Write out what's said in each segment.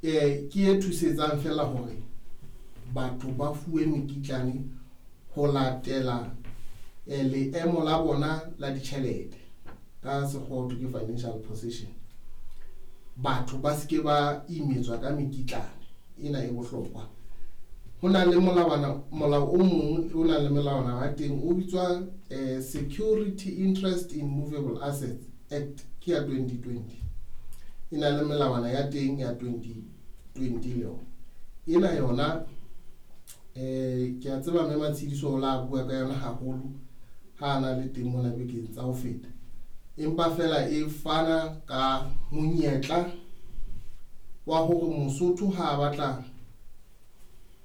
Ke e thusetsang feela hore batho ba fuwe mekitlane ho latela leemo la bona la ditjhelete, ka sekgowa ho thwe ke financial position. Batho ba seke ba imetswa ka mekitlane ena e bohlokwa. Ho na le molawana, molao o mong o nang le melawana wa teng o bitswa Security Interest in Movable Assets Act, ke ya 2020. E na le melawana ya teng ya 2020 le yona. Ena yona ke a tseba mme Matshidiso o la bua ka yona haholo ha na le teng mona bekeng tsa ho feta. Empa fela e fana ka monyetla wa hore Mosotho ha a batla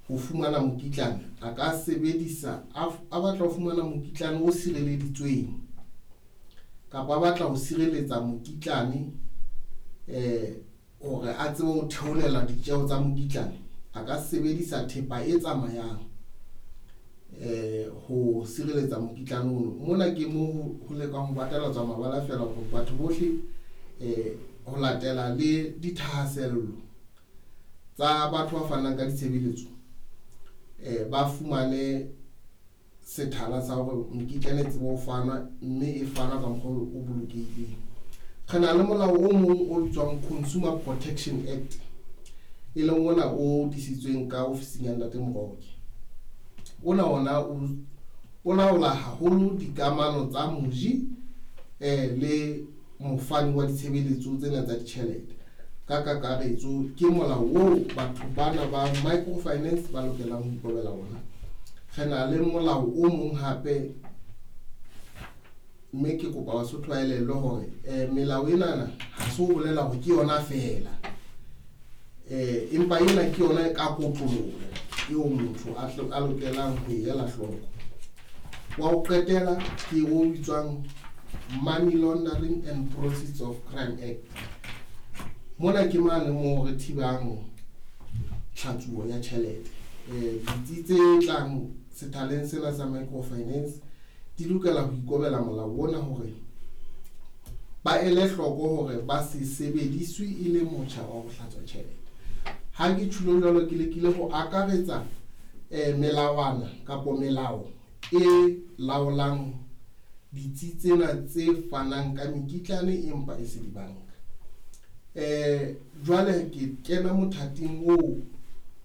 ho fumana mokitlane, a ka sebedisa a batla ho fumana mokitlane o sireleditsweng kapa a batla ho sireletsa mokitlane hore a tsebe ho theolela ditjeho tsa mokitlane, a ka sebedisa thepa e tsamayang ho sireletsa mokitlane ono. Mona ke mo ho lekang ho batalatswa mabala fela hore batho bohle ho latela le dithahasello tsa batho ba fanang ka ditshebeletso ba fumane sethala sa hore mekitlane e tsebe ho fanwa, mme e fanwa ka mokgwa o bolokehileng. Re na le molao o mong o bitswang Consumer Protection Act, e leng ona o disitsweng ka ofising ya Ntate Moroke. Ona ona o laola haholo dikamano tsa moji le mofani wa ditshebeletso tsena tsa ditjhelete. Ka kakaretso ke molao oo batho bana ba microfinance ba lokelang ho ikobela ona. Re na le molao o mong hape, mme ke kopa Basotho ba elellwe hore melao enana ha se ho bolela hore ke yona feela, empa ena ke yona ka kotloloho eo motho a lokelang ho e ela hloko. Wa ho qetela ke o bitswang Money Laundering and Proceeds of Crime Act. Mona ke mane moo re thibang tlhatsuo ya tjhelete. Ditsi tse tlang sethaleng sena sa microfinance di lokela ho ikobela molao ona hore ba ele hloko hore ba se sebediswe e le motjha wa ho hlatswa tjhelete. Ha ke tjhulo jwalo, ke lekile ho akaretsa melawana kapo melao e laolang ditsi tsena tse fanang ka mekitlane empa e se dibanka. Jwale ke kena mothating oo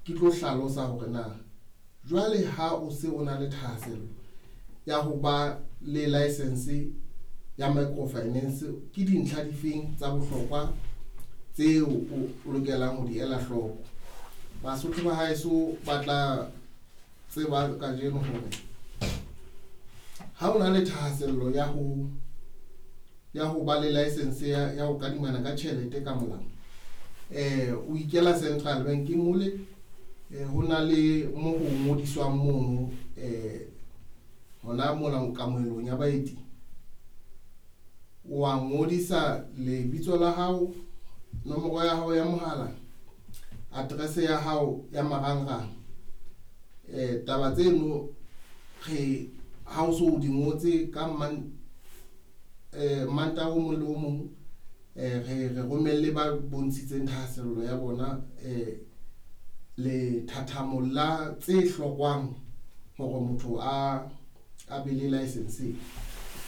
ke tlo hlalosa hore na jwale ha o se o na le thahasello ya ho ba le license ya microfinance, ke dintlha difeng tsa bohlokwa tseo o lokelang ho di ela hloko. Basotho ba haeso ba tla tseba kajeno hore ha o na le thahasello ya ho ba le license ya ho kadimana ka tjhelete ka molao, o ikela Central Bank mole, ho na le mo ho ngodiswang mono, hona mona kamohelong ya baeti. Wa ngodisa lebitso la hao, nomoro ya hao ya mohala, address ya hao ya marangrang. Taba tseno re ha o so di ngotse ka Mantaha o mong le o mong, re romelle ba bontshitseng thahasello ya bona lethathamo la tse hlokwang hore motho a be le license.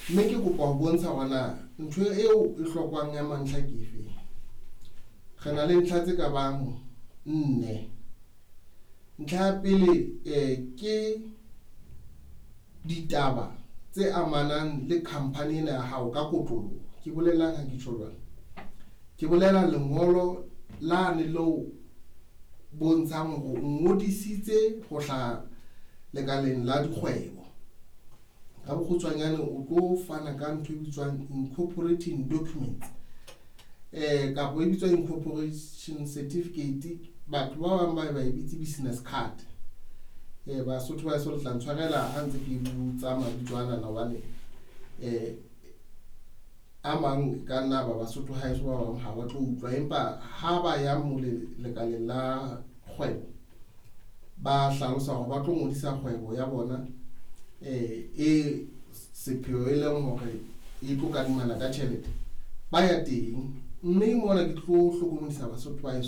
Mme ke kopa ho bontsha hore na ntho eo e hlokwang ya mantlha ke efe. Re na le ntlha tse ka bang 4. Ntlha ya pele ke ditaba tse amanang le company ena ya hao ka kotloloho. Ke bolelang ha ke tjho jwalo? Ke bolela lengolo lane leo bontshang hore o ngodisitse ho hlaha lekaleng la dikgwebo. Ka bokgutshwanyane o tlo fana ka ntho e bitswang incorporating documents, kapa e bitswa incorporation certificate. Batho ba bang ba e bitse business card. Basotho ba so le tla ntshwarela ha ntse ke botsa mabitso ana hobane a mang ka nna ba Basotho haeso ba bang ha ba tlo utlwa, empa ha ba ya mo lekaleng la kgwebo ba hlalosa hore ba tlo ngodisa kgwebo ya bona e sepheo e leng hore e tlo kadimana ka tjhelete, ba ya teng. Mme mona ke tlo hlokomedisa Basotho ba heso.